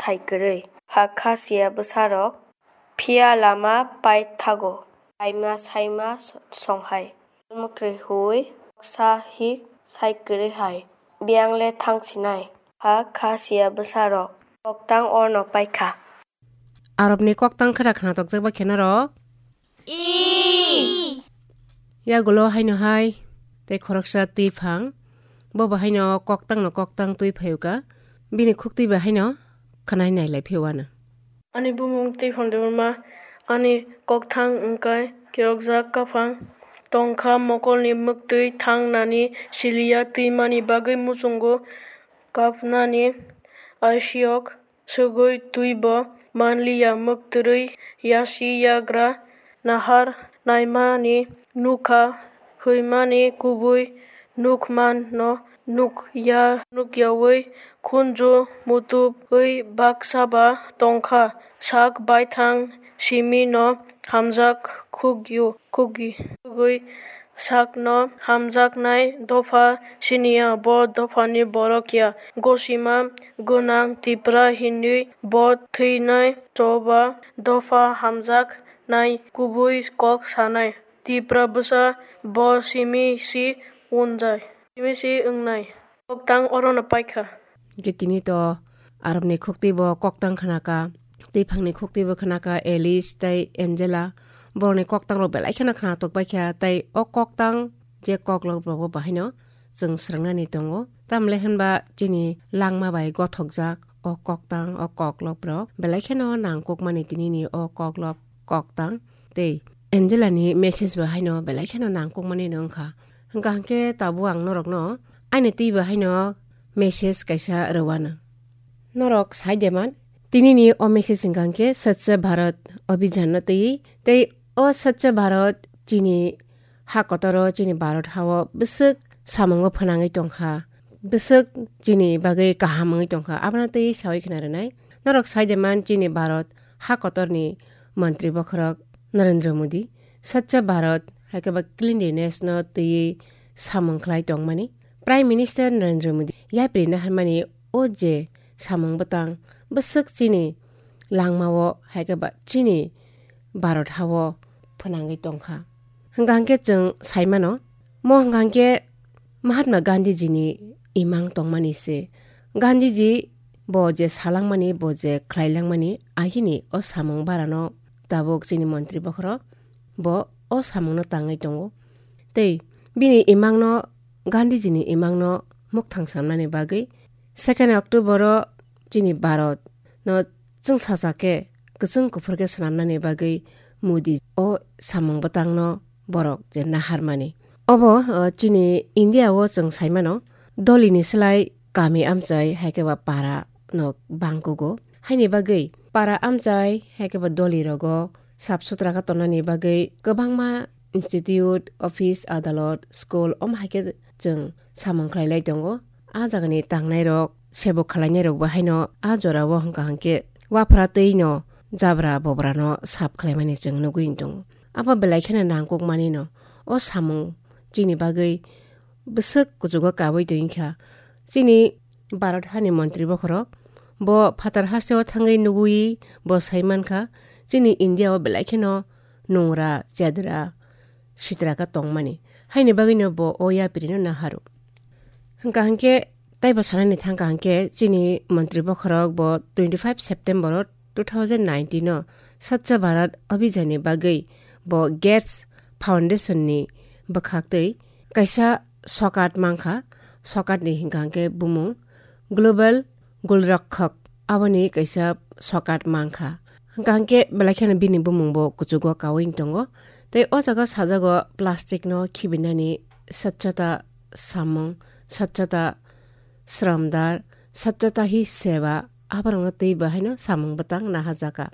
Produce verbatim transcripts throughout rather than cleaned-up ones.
sai kwrwi. Hakha siya bwsarok phiya lama pai thago, laima saima songhai. Mwtrwi hui sa hik sai kwrwi hai, biyang le thang sinai. Hakha siya bwsarok koktang orno paikha. Arabni koktang khwra khna tokjak bai khe norok. Yagulo haino hai tei khoroksa twi phang. Bo bo haino koktang no koktang twi phaio ka. Bini khukti bai haino khwnai nai lai phio ano. Ani bumung twi phang Debbarma, ani kokthang wngkai kirokjak kaphang. Tongkha mokolni mwktwi thang nani siliya twimani bagwi muchungo kapnani aisiyok. Sugwi twibo manliya, mwktwrwi yasi yagra nahar naimani nukha, hwimani kubui nukmano nukya, nukyawi khunju mutubwi baksaba tongkha, sak baithang simino hamjak khukyu, khukgi, khugwi sakno hamjaknai dopha siniya, bo dophani borok ya. Gosima gwnang Tipra hinwi bo thwinai choba dopha hamjaknai kubui kok sanai. Tipra bwsa bo simi si wngjai, simi si wngnai. Koktang orono paikha. Hingke tini to Arabni khukti bo koktang khna ka, tei phangni khukti bo khna ka Alice tei Angela. Borokni koktang rok belai kheno khna tok bai kha, tei o koktang je koklok rok bo bahaino chwng swrwng nani tongo. Tamle hinba chini langma bai gothok jak o koktang, o koklok rok belai kheno nangkuk mani tini ni o koklok koktang. Tei Angela ni message bo haino belai kheno nangkuk mani no wngkha. Hingka hingke tabuk ang norok no aini twi bo haino message kaisa rwano. Norok sai de man, tini ni o message hingka hingke Swachh Bharat Abhijan no twi, tei o Swachh Bharat chini ha kotor o, chini Bharat ha o bwswk samung o phwnangwi tongkha, bwswk chini bagwi kaham wngwi tongkha, abono twi sawi khna rwnai. Norok sai de man, chini Bharat ha kotor ni montri bokhorok Narendra Modi Swachh Bharat hai khe ba cleanliness no twiwi samung khlai tongmani. Prime Minister Narendra Modi yapri naharmani o je samung bwtang bwswk chini langmao hai khe ba chini Bharat hao phwnangwi tongkha. Hwnkha hwnkhe chwng sai mano, mo hwnkha hwnkhe Mahatma Gandhiji ni imang tongmani se. Gandhiji bo je salangmani, bo je khlailangmani, ahini o samung barano tabuk chini montri bokhorok bo o samungno tangwi tongo. Tei bini imangno, Gandhiji ni imangno mukthang swnamnani bagwi second October o chini Bharat no chwngsajak khe, kwchwng kuphur khe swnamnani bagwi Modi o samung bwtangno borok je naharmani. Obo, o, chini India o chwng sai mano, dolini slai kami amchai hai khe ba para no bangkugo. Haini bagwi para amchai hai khe ba doli rogo sap sutra khe tongnani bagwi kwbangma institute, office, adalot, school, omo hai khe chwng samung khlai lai tongo. A jagani tangnai rok, sebo khlainai rok bo haino a jora o hwnkha hwnkhe waphra twi no jabra bobra no sap khlaimani chwng nugwi tongo. Abo belai kheno nangkuk mani no o samung chini bagwi bwswk kuchugo kawi tongwi kha. Chini Bharat hani montri bokhorok bo phatar hasteo thangwi nugwi bo sai mankha, chini India o belai kheno nungra, chedra, sitra khe tongmani. Haini bagwino bo o yapri no naharo. Hwnkha hwnkhe taibo sanani thangkha hwnkhe chini montri bokhorok bo twenty five September o two thousand nineteen o Swachh Bharat Abhijan ni bagwi bo Gates Foundation ni bwkhak twi kaisa sokat mankha. Sokat ni hwnkha hwnkhe bumung Global Golrakshak, aboni kaisa sokat mankha. Hwnkha hwnkhe belai kheno bini bumung bo kuchugo kawi tongo. Tei o jaga sajago plastic no khibinani swchhata samung, swchhata sramdar, swchhata hi seva, aborokno twi bo haino samung bwtang naharjakha.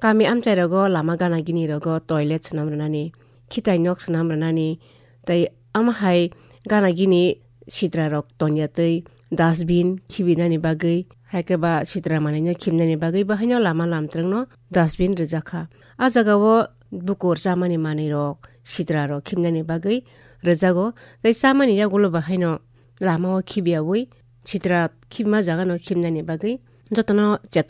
Kami amchai rogo lama gana gini rogo toilet swnam rwnani, khitai nok swnam rwnani, tei omo hai gana gini sitra rok tonya twi dustbin khibinani bagwi, hai khe ba sitra manwi no khibnani bagwi bo haino lama lamtrwng no dustbin rwjakha. A jaga o bukur chamani manwi rok sitra rok khibnani bagwi rwjago, tei chamani yagulo bo haino lama o khibiyawi sitra khibima jaga no khibnani bagwi jotono cheton